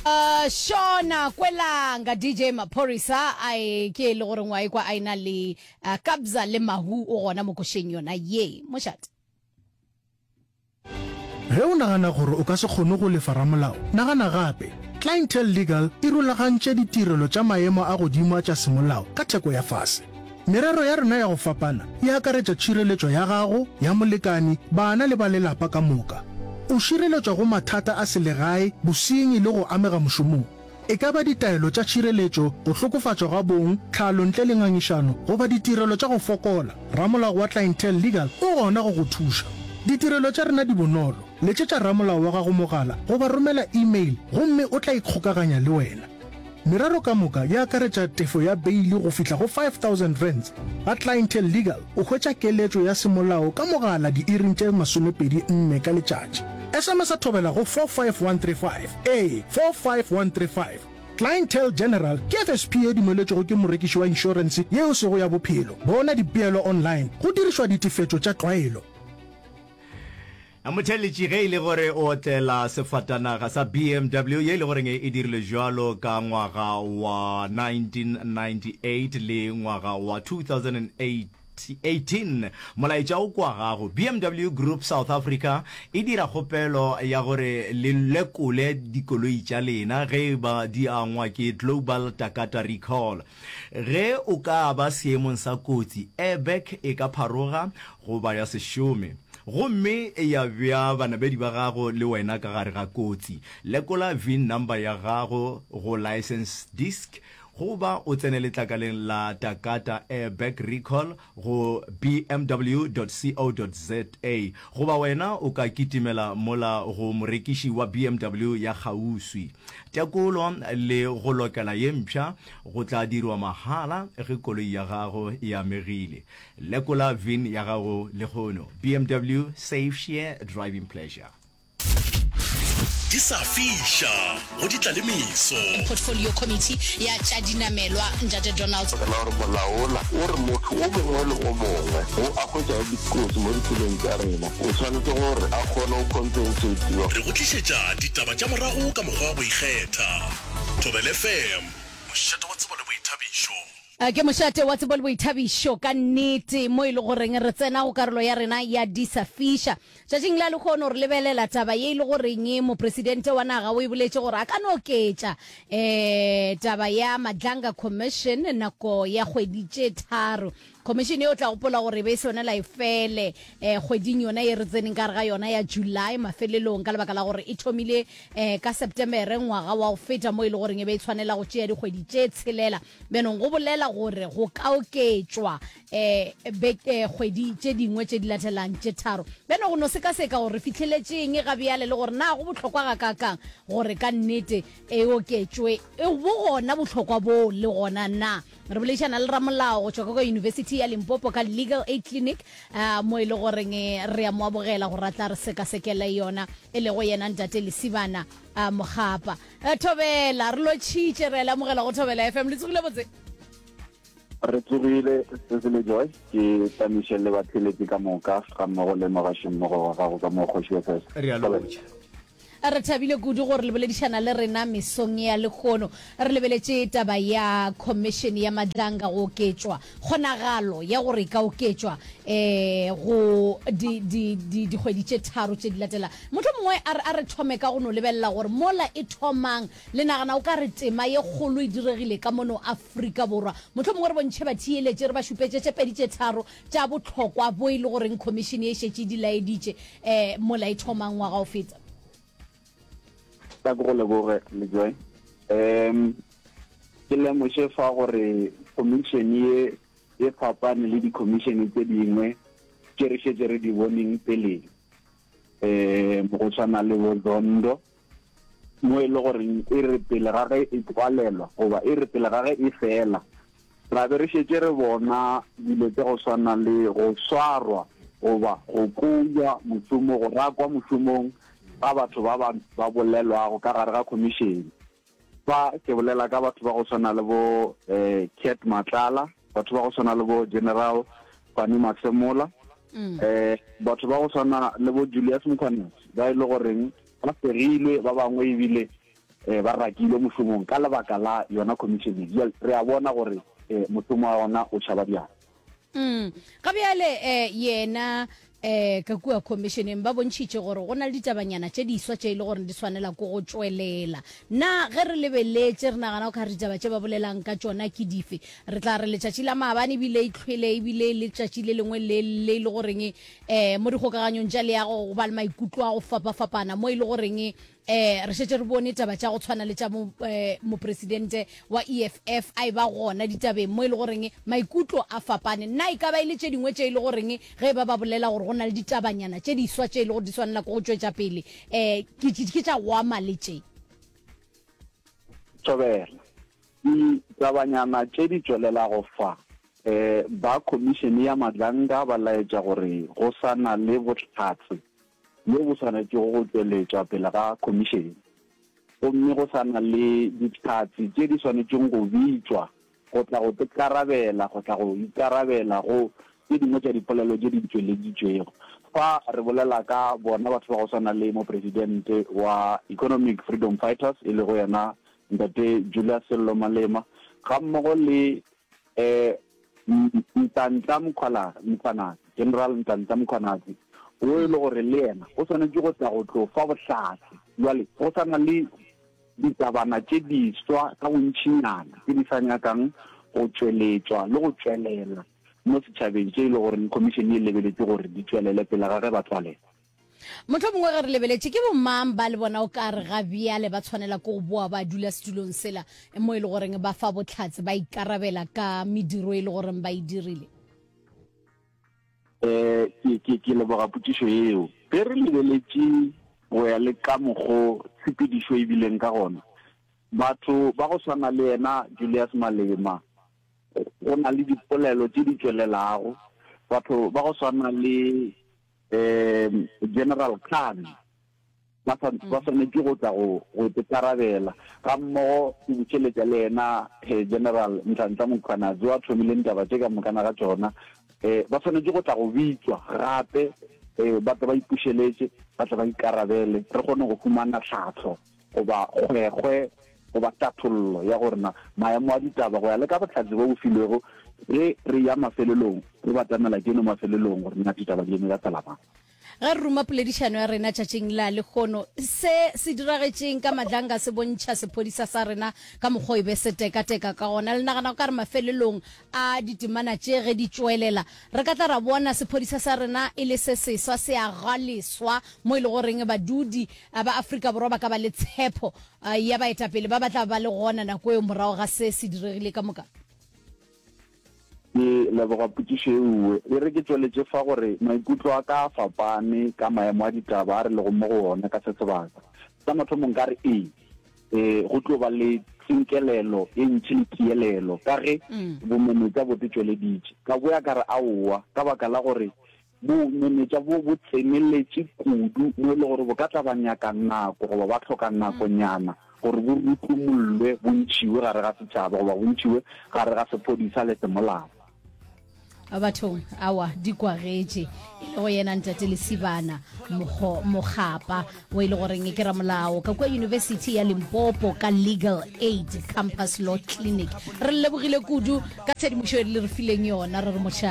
Uh, Shona Kwelanga DJ Maphorisa a e ke e le gore ngwa ekwa a ena le uh, Kabza le Mahu o gona mo košeng yona ye mošate. Ge o nagana gore o ka se kgone go lefa ramolao, nagana gape. Clientele Legal e rulagantše ditirelo tša maemo a godimo a tša semolao ka theko ya fase. Merero ya rena ya go fapana e akaretša tšhireletšo ya gago, ya molekane, bana le ba lelapa ka moka. O šireletšwa go mathata a selegae, bosenyi le go amega mošomong. E ka ba ditaelo tša tšhireletšo, go hlokofatšwa ga bong, tlhalo ntle le ngangišano, goba ditirelo tša go fokola, ramolao wa Clientele Legal o gona go go thuša. Ditirelo tša rena di bonolo, letšetša ramolao wa gago mogala goba romela email gomme o tla ikgokaganya le wena. Merero ka moka e akaretša tefo ya beili go fihla go R5000. Ga Clientele Legal o hwetša keletšo ya semolao ka mogala diiring tše 24 ka letšatši. SMS-a thobela go 45135. Ee, 45135. Clientele General ke FSP ye dumeletšwego ke morekiši wa inšorense ye e sego ya bophelo. Bona dipeelo online go dirišwa ditefetšo tša tlwaelo. Motheeletši ge e le gore o otlela sefatanaga sa BMW ye e le goreng e dirilwe bjalo ka ngwaga wa 1998 le ngwaga wa 2018, molaetša o kwa gago. BMW Group South Africa e dira kgopelo ya gore le lekole dikoloi tša lena ge e ba di angwa ke Global Takata Recall. Ge o ka ba seemong sa kotsi, airbag e ka pharoga goba ya se šome gomme ya bea banamedi ba gago le wena ka gare ga kotsi. Lekola VIN number ya gago go license disc goba o tsene letlakaleng la Takata Airbag Recall go bmw.co.za goba wena o ka kitimela mola go morekiši wa BMW ya kgauswi. Tekolo le go lokela ye mpsha go tla dirwa mahala ge koloi ya gago e amegile. Lekola VIN ya gago lehono. BMW, Safe Share Driving Pleasure. Di sa fiša go di tla le meso. Portfolio Committee ya tša dinamelwa, Ntate Donald. Ka la gore molao wola o re motho o mongwe le o mongwe wo a hwetšago dikotsi mo ditseleng tša rena o swanetše gore a kgone go compensatiwa. Re go tlišetša ditaba tša morago ka mokgwa wa go ikgetha. Thobela FM, mošate wa tsebo le boithabišo. Ke mošate wa tsebo le boithabišo ka nnete, mo e le goreng re tsena go karolo ya rena ya Di sa Fiša. Tšatšing la lehono re lebelela taba ye e le goreng mopresidente wa naga o e boletše gore a ka no oketša um taba ya Madlanga Commission nako ya kgwedi tše tharo. Commission ye o tla gopola gore e be e swanela e fele um kgweding yona ye re tseneng ka gare ga yona ya July mafelelong ka lebaka la gore e thomile um ka Septemere ngwaga wa go feta mo e le goreng e be e tshwanela go tšea dikgwedi tše tshelela. Bjanong go bolela gore go ka oketšwa um beke kgwedi tše dingwe tše di latelang tše tharo. Bjano go no sekaseka gore re fihleletšeng ga bjale le gore na go bohlokwa gakaakang gore ka nnete e oketšwe. E bo gona bohlokwa boo le gona na? Re boledišana le ramolao go tšwa ka kwa University ya Limpopo ka Legal Aid Clinic uh, mo e le goreng re a mo amogela gore a tla re sekasekele yona e lego yena Ntate Lesibana uh, Mokgapa. Eh, Thobela, re lotšhitše, re a le amogela go Thobela FM. Le tsogile botse? Re tsogile, Cecily Joy, ke tamiše le batheeletši ka moka ga mmogo le mogašimmogo wa gago ka mo Kgoši FS. Re a lotšha. Re thabile kudu gore le boledišana le rena mesong ya lehono. Re lebeletše taba ya Khomišene ya Madlanga go oketšwa, kgonagalo ya gore e ka oketšwa um go di, di, di, dikgwedi tše tharo tše di latela. Mohlomongwe a re, a re thome ka go no lebelela gore mola e thomang, le nagana o ka re tema ye kgolo e diregile ka mono Afrika Borwa. Mohlomongwe re bontšhe batheeletši, re ba šupetše tše pedi tše tharo tša bohlokwa bo e le goreng khomišene e šetše e di laeditše um mola e thomang ngwaga o feta. Tla ke go leboge, Lejoe. Um ke lemoše fa gore khomišene ye e fapane le dikhomišene tše dingwe tše re šetše re di boneng peleng. Um go tshwana le bo Zondo, mo e le goreng e re pele ga ge e tswalelwa goba e re pele ga ge e fela, ra be re šetše re bona dilo tša go swana le go swarwa goba go kouwa mošomo, go rakwa mošomong ga batho ba ba ba bolelwago ka gare ga khomišene. Fa ke bolela ka batho ba go swana le bo Cat Matlala, batho ba go swana le bo General Fannie Masemola, batho ba go swana le bo Julius Mkhwanazi ba e le goreng ba fegilwe, ba bangwe ebile. um ba rakilwe mošomong ka lebaka la yona khomišene ye. Bjale re a bona gore um mošomo wa yona o tšhaba bjang. Mm. Ga bjale eh, yena eh, ka kua khomišeneng ba bontšhitše gore go na le ditabanyana tše diswa tše e le gore di swanela ko go tšwelela. Na ge re lebeletše re nagana go ka re ditaba tše ba bolelang ka tšona ke dife? Re tla re letšatši la maabane ebile e tlhwele ebile e le letšatši le lengwe le le e le goreng eh, mo dikgokaganyong tša leago go ba le maikutlo a go fapafapana mo e le goreng Eh, re šetše re bone taba tša go tshwana le tša mo, eh, mopresidente wa EFF a e ba gona ditabeng mo e le goreng maikutlo a fapane. Na e ka ba e le tše dingwe tše e le goreng ge e ba ba bolela gore go na le ditabanyana tše diswa tše e le gore di swanela ke go tšwetša pele, eh, ke, ke, ke tša go ama le tše? Thobela. Ditabanyana tše di tšwelelago fa, eh, ba Khomišene ya Madlanga ba laetša gore go sa na le bohlatse bjo bo swanetšego go tšweletšwa pele ga khomišene, gomme go sa na le dihlatse tše di swanetšeng go bitšwa go tla go tkarabela, go tla go ikarabela go tše dingwe tša dipolelo tše di tšweleditšwego. Fa re bolela ka bona batho ba go swana le Mopresidente wa Economic Freedom Fighters, e lego yena Ntate Julius Sello Malema, gammogo le Nhlanhla Mkhwanazi, General Nhlanhla Mkhwanazi, wo e le gore le yena o swanetše go tla go tlo fa bohlatse. Bjale go sa na le ditabana tše diswa ka bontšinyana tše di sa nyakang go tšweletšwa le go tšwelela mo setšhabeng tše e le gore khomišene e lebeletše gore di tšwelele pele ga ge ba tswalela. Mohlomongwe ge re lebeletše, ke bomang ba le bona o ka re ga bjale ba tshwanela ke go boa ba dula setulong sela mo e le goreng ba fa bohlatse, ba ikarabela ka mediro e le goreng ba e dirile? Um ke, ke, ke leboga potšišo yeo. Ge re lebeletše go ya le ka mokgo tshepedišo e bileng ka gona, batho ba go swana le yena Julius Malema, go na le dipolelo tše di tšwelelago, batho ba go swana le um General Khan ba sa ba swanetše go tla go go ikarabela ga mmogo ke bušeletša le yena eh, General Nhlanhla Mkhwanazi wa thomileng taba tše ka mokana ga tšona um ba swanetše go tla go bitšwa gape um ba tle ba ipušeletše ba tle ba ikarabele re kgone go humana tlhahlo goba kgwekgwe goba tathollo ya gore na maemo a ditaba go ya le ka bohlatse bo bo filwego ge re ya mafelelong, re batamela keno mafelelong gore na ditaba di eme ka tsela mang. Ge re ruma poledišano ya rena tšatšing la lehono, se se diragetšeng ka Madlanga se bontšha sephodisa sa rena ka mokgwa o e be se tekateka ka gona. Le nagana go ka re mafelelong a ditemana tše ge di tšwelela, re ka tla ra bona sephodisa sa rena e le se seswa, se aga leswa mo e le goreng badudi ba Afrika Borwa ba ka ba le tshepo ya baetapele ba ba tla ba le gona nako eo morago ga se se diregile ka moka? Ke leboga potšišo e uwe. E re ke tšweletše fa gore maikutlo a ka a fapane ka maemo a ditaba a re lego mo go ona ka se sebaka. Sa mathomo nka re ee, e, go tlo ba le tsinkelelo e ntši le tielelo ka ge bomenetša bo te tšweleditše. Ka boya ka re aowa, ka baka la gore Bomenetša bo bo tseneletše kudu mo e le gore bo ka tla ba nyaka nako goba ba hloka nakonyana gore bo rutlumollwe, bo ntšhiwe gare ga setšhaba goba bo ntšhiwe gare ga sephodisa le semolao. Bathong, awa, di kwagetše. E lego yena Ntate Lesibana Mokgo, Mokgapa, wo e le goreng ke ramolao ka kua University ya Limpopo ka Legal Aid Campus Law Clinic. Re le lebogile kudu ka tshedimošo e le re fileng yona, re re mošate.